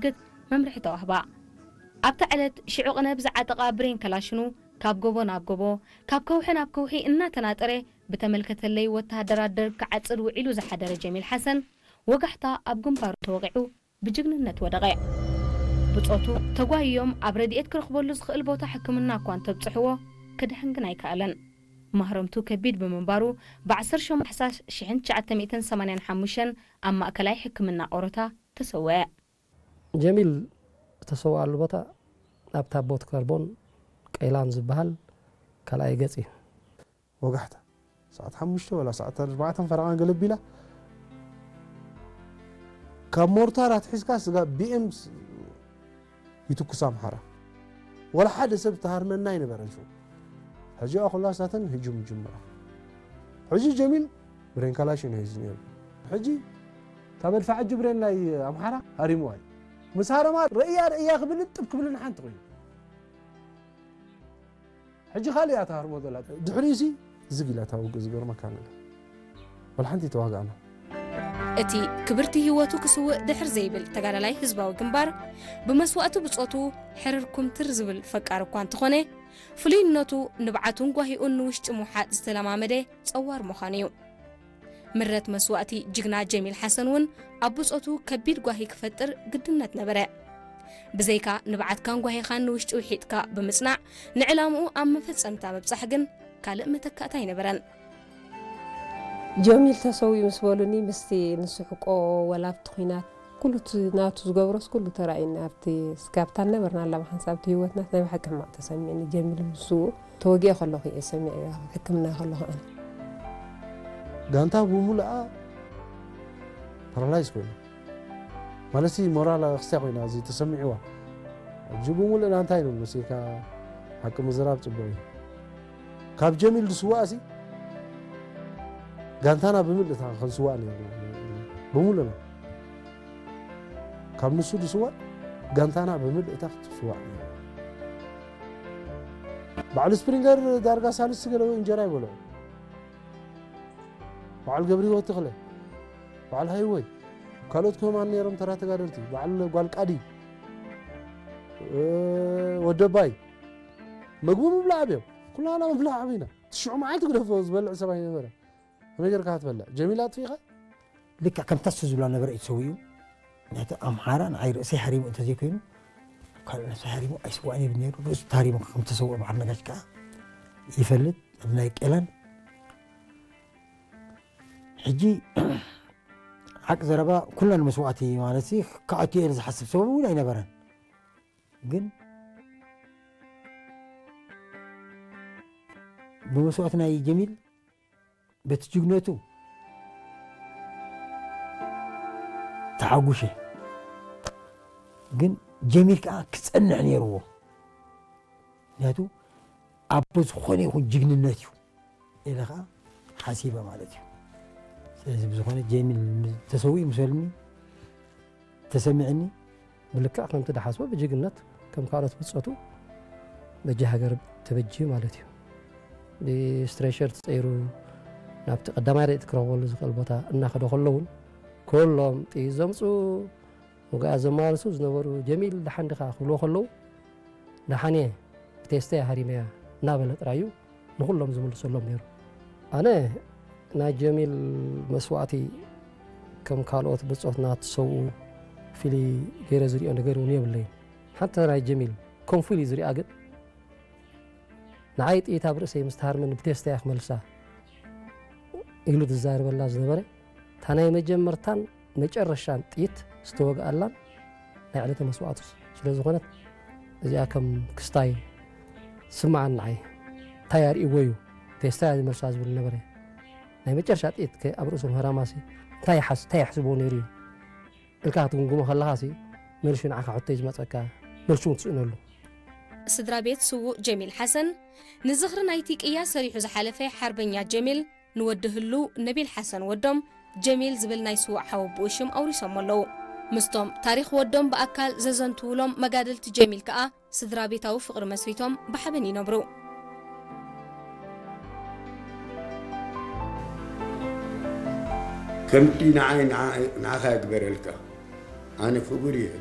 ክትግት መምርሒ ተዋህባ። ኣብታ ዕለት ሽዑ ቅነ ብዝዓጠቓ ብሬን ከላሽኑ ካብ ጎቦ ናብ ጎቦ፣ ካብ ከውሒ ናብ ከውሒ እናተናጠረ ብተመልከተለይ ወተሃደራት ደርግ ክዓጽድ ውዒሉ ዝሓደረ ጀሚል ሓሰን ወጋሕታ ኣብ ግንባሩ ተወቒዑ ብጅግንነት ወደቐ። ብጾቱ ተጓይዮም ኣብ ረድኤት ክረኽበሉ ዝኽእል ቦታ ሕክምና እኳ እንተብጽሕዎ ክድሕን ግን ኣይከኣለን። ማህረምቱ ከቢድ ብምንባሩ ብ ዓሰርተ ሸሞንተ ታሕሳስ ሽሕን ትሽዓተ ሚእትን ሰማንያን ሓሙሽተን ኣብ ማእከላይ ሕክምና ኦሮታ ተሰወአ። ጀሚል ዝተሰውኣሉ ቦታ ኣብ ታቦት ከርቦን ቀይላን ዝበሃል ካልኣይ ገጽ እዩ። ወጋሕታ ሰዓት ሓሙሽተ ወላ ሰዓት ኣርባዕተን ፈረቓን ገለ ቢላ ካብ ሞርታር ኣትሒዝካ ስጋ ቢኤም ይትኩስ ኣምሓራ። ወላ ሓደ ሰብ ተሃርመና ኣይነበረን ሽዑ። ሕጂ ኩላሳተን ህጁም ይጅምራ። ሕጂ ጀሚል ብሬን ካላሽን እዩ ሒዙ ነይሩ። ሕጂ እታ መድፍዓ ሕጂ ብሬን ናይ ኣምሓራ ሃሪምዋ እዩ። ምስ ሃረማ ርእያ ርእያ ክብል ጥብ ክብልን ሓንቲ ኮይኑ። ሕጂ ካልእ እያ ትሃርሞ ዘላ። ድሕሪኡሲ ዝግ ኢላ እታ ውግእ ዝገርመካ ነገር። ወላ ሓንቲ ተዋጋእና። እቲ ክብርቲ ህይወቱ ክስውእ ድሕር ዘይብል ተጋዳላይ ህዝባዊ ግንባር፣ ብመስዋእቲ ብጾቱ ሕርር ኩምትር ዝብል ፈቃር እኳ እንተኾነ፣ ፍሉይነቱ ንብዓቱን ጓሂኡን ንውሽጢ ምውሓጥ ዝተለማመደ ጸዋር ምዃኑ እዩ። ምረት መስዋእቲ ጅግና ጀሚል ሓሰን እውን ኣብ ብጾቱ ከቢድ ጓሂ ክፈጥር ግድነት ነበረ። ብዘይካ ንብዓትካን ጓሂኻን ንውሽጢ ውሒጥካ ብምጽናዕ፣ ንዕላምኡ ኣብ መፈጸምታ ምብጻሕ ግን ካልእ መተካእታ ኣይነበረን። ጀሚል ተሰዊኡ ምስ በሉኒ፣ ምስቲ ንስሕቆ ወላ ኣብቲ ኲናት ኩሉ እቲ ናቱ ዝገብሮስ ኩሉ ተራእዩኒ። ኣብቲ ስጋብታ ነበርና ኣላ ብሓንሳብ እቲ ህይወትና ናይ ብሓቂ ሕማቕ ተሰሚዕኒ። ጀሚል ምስኡ ተወጊአ ከለኹ እየ ሰሚዐ፣ ኣብ ሕክምና ከለኹ ኣነ። ጋንታ ብምሉኣ ፓራላይዝ ኮይና፣ ማለት ሲ ሞራል ኣኽስያ ኮይና፣ እዚ ተሰሚዕዋ። ሕጂ ብምሉእና እንታይ ነው መሲልካ ሓቂ ምዝራብ ጽቡቕ እዩ። ካብ ጀሚል ዝስዋእ ሲ ጋንታና ብምልእታ ክንስዋእ ነይርና። ብምሉእና። ካብ ንሱ ዝስዋእ ጋንታና ብምልእታ ክትስዋእ ነይርና። በዓል ስፕሪንገር ዳርጋ ሳልስቲ ገለ ወይ እንጀራ ይበልዑ። በዓል ገብረ ህይወት ተኽለ፣ በዓል ሃይወይ፣ ካልኦት ከማን ነይሮም ተራ ተጋደልቲ፣ በዓል ጓል ቃዲ፣ እ፣ ወደባይ፣ መግቢ ምብላዕ ኣብዮም። ኩላና ምብላዕ ኣቢና። ትሽዑ መዓልቲ ግደፎ ዝበልዕ ሰብ ኣይነበረ። ከመይ ጌርካ ክትበልዕ? ጀሚል ኣጥፊእኻ? ልክዕ ከምታ እሱ ዝብላ ነበረ እዩ ተሰዊኡ። ናይቲ ኣምሓራ ንዓይ ርእሰይ ሃሪሙ እንተዘይኮይኑ፣ ካልእ ነብሰይ ሃሪሙ ኣይስዋእን ይብል ነይሩ። ርእሱ ተሃሪሙ ከም ተሰውአ በዓል ነጋሽ ከኣ ይፈልጥ። ኣብ ናይ ቄላን ሕጂ ሓቂ ዘረባ ኩለን መስዋእቲ ማለት ሲ ክኣቱ እየ ኢለ ዝሓስብ ሰብ እውን ኣይነበረን። ግን ብመስዋእቲ ናይ ጀሚል በቲ ጅግነቱ ተሓጉሸ። ግን ጀሚል ከኣ ክጸንዕ ነይርዎ። ምክንያቱ ኣቦ ዝኾነ ይኹን ጅግንነት እዩ ኢለ ከኣ ሓሲበ ማለት እዩ። ስለዚ ብዝኾነ ጀሚል ተሰዊኡ ምስ በሉኒ ተሰሚዕኒ። ብልክዕ ከምቲ ድሓስቦ ብጅግነት ከም ካልኦት ብጾቱ በጃ ሃገር ተበጅዩ ማለት እዩ። ብስትሬቸር ተጸይሩ ናብቲ ቀዳማይ ረድኤት ክረኽበሉ ዝኽእል ቦታ እናኸደ ከሎ እውን ኩሎም ጥይት ዘምጽኡ፣ ውግኣት ዘመላልሱ ዝነበሩ ጀሚል ደሓን ዲኻ ክብልዎ ከለዉ ደሓን እየ፣ ብቴስታ እየ ሃሪመያ እናበለ ጥራይ እዩ ንኹሎም ዝምልሰሎም ነይሩ። ኣነ ናይ ጀሚል መስዋእቲ ከም ካልኦት ብጾትና ትሰውኡ ፍልይ ገይረ ዝሪኦ ነገር እውን የብለይን። ሓንቲ ናይ ጀሚል ከም ፍሉይ ዝሪኣ ግን ንዓይ ጥይት ኣብ ርእሰይ ምስ ተሃርመኒ ብቴስታ እያ ክመልሳ ኢሉ ዝዛረበላ ዝነበረ እታ ናይ መጀመርታን መጨረሻን ጥይት ዝተወግኣላን ናይ ዕለተ መስዋእቱ ስለ ዝኾነት እዚኣ ከም ክስታይ ስምዓኒ ንዓይ። እንታይ ኣርእይዎ እዩ ቴስታ እያ ዝመልሳ ዝብል ነበረ። ናይ መጨረሻ ጥይት ከ ኣብ ርእሱ ምህራማሲ እንታይ ይሓስ-፣ እንታይ ይሕስቦ ነይሩ እዩ? ኢልካ ክትግምግሞ ከለኻሲ መልሱ ንዓኻ ሕቶ እዩ ዝመጸካ፣ መልሱ እውን ትስእነሉ። ስድራ ቤት ስዉእ ጀሚል ሓሰን ንዝኽሪ ናይቲ ቅያ ሰሪሑ ዝሓለፈ ሓርበኛ ጀሚል ንወዲ ህሉው ነቢል ሓሰን ወዶም ጀሚል ዝብል ናይ ስዉእ ሓወቦኡ ሽም ኣውሪሶሞ ኣለዉ። ምስቶም ታሪኽ ወዶም ብኣካል ዘዘንትዉሎም መጋድልቲ ጀሚል ከኣ ስድራ ቤታዊ ፍቕሪ መስሪቶም ብሓበን ይነብሩ። ከምቲ ንዓይ ንዓ-፣ ንዓኻ ይግበረልካ። ኣነ ክቡር እየ፣